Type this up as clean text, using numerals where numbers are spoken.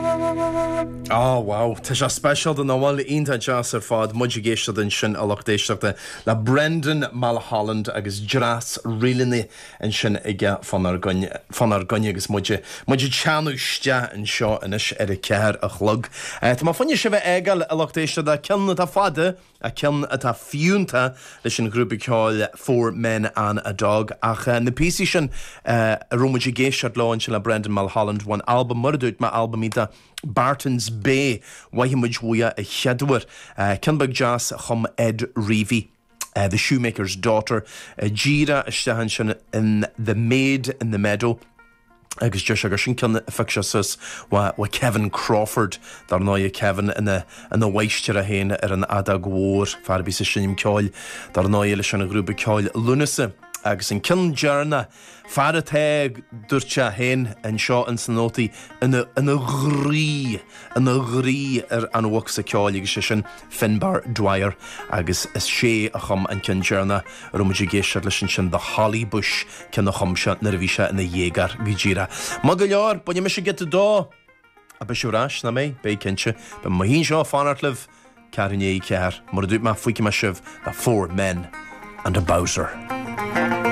Á, wow, tá sé speisialta nach bhfuil? Iontach deas ar fad. Muid ag éisteacht ansin, a lucht éisteachta, le Brendan Mulholland agus dreas ríleanna ansin aige fánár gcoinne, fánár gcoinne agus muid, muid ag teannadh isteach anseo anois ar a ceathair a chlog. Tá mé fá choinne sibh a fhágáil, a lucht éisteachta, ceann atá fada, ach ceann atá fiúntach leis an ghrúpa ceoil Four Men and a Dog. Ach na píosaí sin a raibh muid ag éisteacht leo ansin le Brendan Mulholland ón albam, mar a dúirt mé, albam iontach Barton's Bay, mhothaigh muid uaidh a chéaduair. Ceann beag deas a chum Ed Reavy, The Shoemaker's Daughter, díreach isteach ansin in The Maid in the Meadow. agus deir sé gur sin ceann a phioc sé suas ó Kevin Crawford, dar ndóigh, Kevin ina ina mháistir é féin ar an fheadóg mhór, fear a bhíos ag seinm ceoil, dar ndóigh, leis an ghrúpa ceoil Lúnasa. Agus an ceann deireanach, fear atá, dúirt sé féin anseo ins na nótaí, ina ina dhraoi, ina dhraoi ar an bhocsa ceoil agus sé sin Finbar Dwyer agus is é a chum an ceann deireanach a raibh muid ag éisteacht leis ansin, The Holly Bush, ceann a chum sé nuair a bhí sé ina dhéagóir go díreach. Maith go leor, bainfidh mise giota dó! Ach beidh sibh ar ais, nach mbeidh? Beidh cinnte. Beidh mé anseo ag fanacht libh, ceathrú i ndiaidh a ceathair. Mar a dúirt mé, fágfaidh mé sibh le Four Men and a Bowser.